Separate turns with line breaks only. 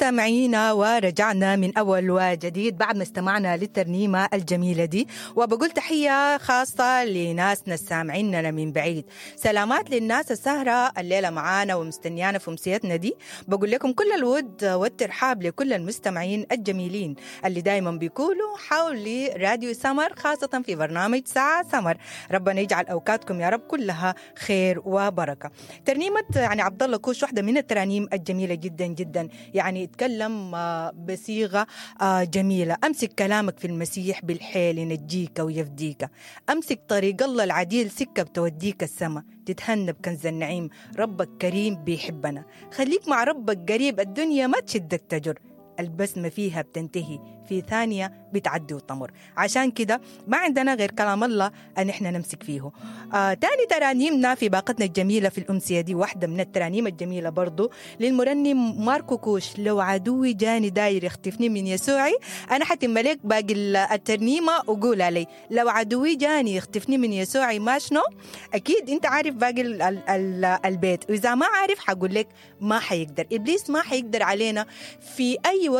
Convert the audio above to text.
مستمعينا، ورجعنا من أول وجديد بعد ما استمعنا للترنيمة الجميلة دي. وبقول تحية خاصة لناسنا السامعيننا من بعيد، سلامات للناس السهرة الليلة معانا ومستنيانا في أمسيتنا دي. بقول لكم كل الود والترحاب لكل المستمعين الجميلين اللي دايما بيكونوا حول راديو سمر، خاصة في برنامج ساعة سمر. ربنا يجعل أوقاتكم يا رب كلها خير وبركة. ترنيمة يعني عبد الله كوش واحدة من الترانيم الجميلة جدا جدا، يعني يتكلم بصيغة جميلة. أمسك كلامك في المسيح بالحيل ينجيك ويفديك، أمسك طريق الله العديل سكة بتوديك السما، تتهنى بكنز النعيم، ربك كريم بيحبنا، خليك مع ربك قريب، الدنيا ما تشدك تجر، البسمة فيها بتنتهي في ثانية بتعدي وتمر. عشان كده ما عندنا غير كلام الله أن احنا نمسك فيه. تاني ترانيمنا في باقتنا الجميلة في الأمسية دي واحدة من الترانيم الجميلة برضو للمرنم ماركو كوش، لو عدوي جاني داير يختفني من يسوعي. أنا حتم لك باقي الترنيمة وقول علي لو عدوي جاني يختفني من يسوعي ما شنو؟ أكيد أنت عارف باقي ال ال ال البيت، وإذا ما عارف حقول لك ما حيقدر إبليس، ما حيقدر علينا في أي وقت.